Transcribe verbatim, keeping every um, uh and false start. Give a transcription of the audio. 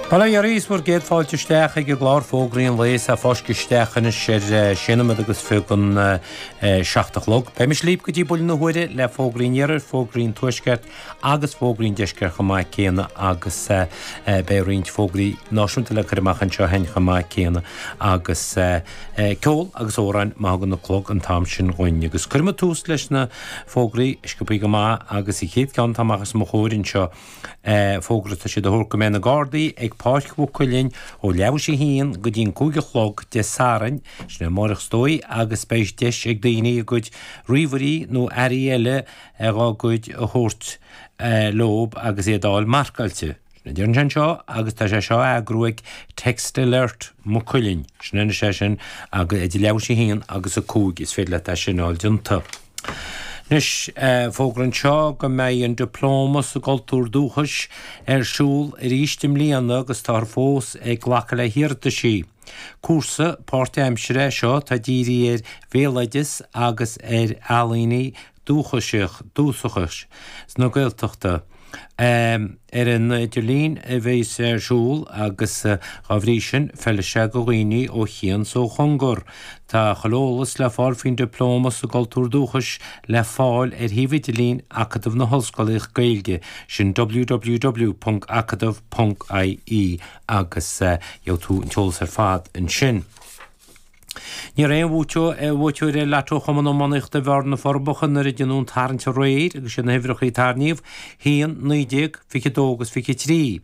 Bail ó Dhia oraibh is bhur gcéad fáilte isteach ag an gclár Fógraí an Lae is é fáiscthe isteach anois ar sé nóiméad agus fiche don seacht a chlog. Beidh mise libh go dtí buille na huaire le fógraí an iarthair, fógraí an tuaisceart agus fógraí an deisceart chomh maith céanna agus beidh roinnt fógraí náisiúnta le cur amach anseo féin chomh maith céanna agus ceol agus amhráin má thagann an clog an t-am sin dhúinn. Agus cuirfidh muid tús leis na fógraí sciobthaí go maith agus an chéad ceann atá amach os mo chomhair anseo fógra tá siad a thabhairt go mbeidh na Gardaí ag Páirc Mhaigh Cuilinn ó leathuair théis a haon go dtí an cúig a chlog Dé Sathairn, sin amárach is dóigh, agus beidh deis ag daoine a gcuid ríomhairí nó earraí eile dhá gcuid a thabhairt leob agus iad a fháil marcáilte. Sin a deireann sé anseo agus tá sé seo á eagrú ag Text Alert Maigh Cuilinn. Sin anois é sin agus idir leathuair théis a haon agus a cúig is féidir leat é sin a fháil déanta. Anois fógra anseo go mbeidh an Dioplóma sa gCultúr Dúchais ar siúl arís i mbliana agus táthar fós ag glacadh le hiarrataisí. Cúrsa páirtaimseartha é seo atá dírithe ar bhéaloideas agus ar ealaíona dúchasach dúchasach na Gaeltachta. Ar an idirlíon a bheidh ar siúl agus dá bhrí sin feilfidh sé do dhaoine ó chian is ó chóngar. Tá chuile eolas le fáil faoin Dioplóma sa gCultúr Dúchais le fáil ar shuíomh idirlín Acadamh na hOllscoile Gaeilge sin www.acadamh.ie agus gheobhaidh tú an t-eolas ar fad ansin. Ní raibh aon bhuaiteoir ar Lotto Chumann Iománaíochta Bhearna na Forbacha nuair a déanadh an tarraingt aréir agus sin na huimhreacha a tarraingíodh, haon, naoi déag, fiche dó agus fiche trí.